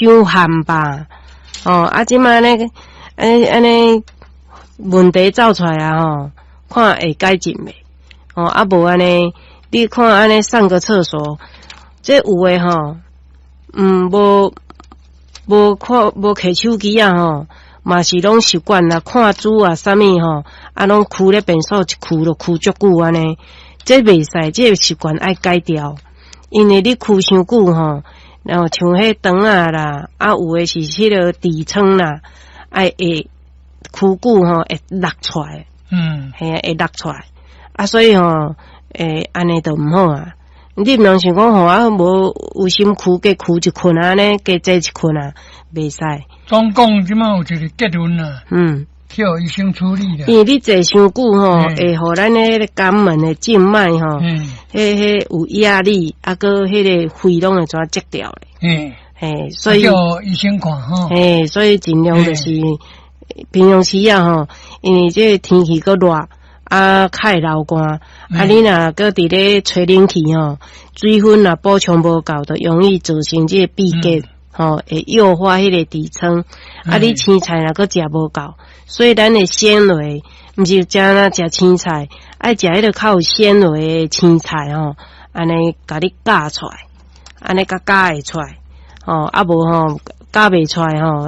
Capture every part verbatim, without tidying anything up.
傷譀吧。哦，啊，這擺呢，按呢按呢問題走出來啊吼，看會改進袂？哦，啊無按呢，你看按呢上個廁所，這有的吼，嗯，無無看無提手機啊吼，嘛是攏習慣啦，看書啊啥物吼，啊攏踞咧便所一踞就踞足久按呢，這袂使，這个習慣愛改掉，因為你踞傷久吼，然後像彼腸仔啦，啊有的是彼个痔瘡啦，愛會踞久吼會落出來，嗯，嘿啊，會落出來，啊所以吼，會按呢就毋好啊。你毋通想講吼啊，無有心踞加踞一困按呢，加坐一困啊，袂使。總共這擺有一个結論啦，嗯，去予醫生處理啦。因為你坐傷久吼，會予咱彼个肛門的靜脈吼，彼彼有壓力，啊閣彼个血攏會怎積掉咧。嗯，嘿，所以叫醫生看吼。嘿，所以盡量就是平常時啊吼，因為這个天氣閣熱。啊，較會流汗，啊，你若閣佇咧吹冷氣吼，水分若補充無夠，就容易造成這个閉結，吼，會誘發彼個痔瘡。啊，你青菜若閣食無夠，所以咱的纖維，毋是食若食青菜，愛食彼个較有纖維的青菜吼，按呢共你咬出來，按呢共咬會出來，吼，啊無吼咬袂出來吼，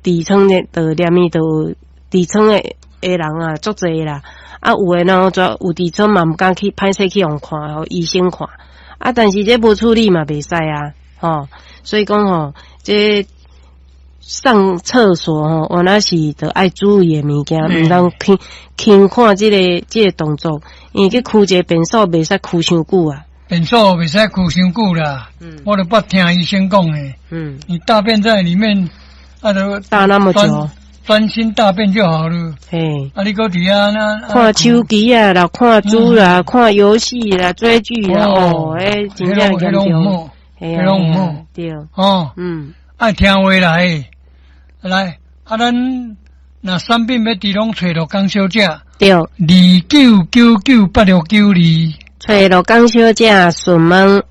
彼痔瘡的就連伊就痔瘡的。的人啊，足濟啦！啊，有的人就有痔瘡嘛，毋敢去歹勢去予看，予醫生看。啊，但是這無處理嘛，袂使啊，吼。所以講吼，這上廁所吼，原來是著愛注意的物件，毋通輕輕看這个這个動作，因為去踞一个便所袂使踞傷久啊。便所袂使踞傷久啦。嗯。我都捌聽醫生講的。嗯。你大便在裡面，啊，都大那麼久。專心大便就好了。嘿，啊，你閣佇遐那看手機啊，啦，看書啦，看遊戲啦，追劇啦，哦，欸，真正嚴重。彼攏毋好。對。哦，嗯，愛聽話來，來，啊，咱若產品欲佇攏揣陸江小姐。對。二九九九八六九二。揣陸江小姐詢問。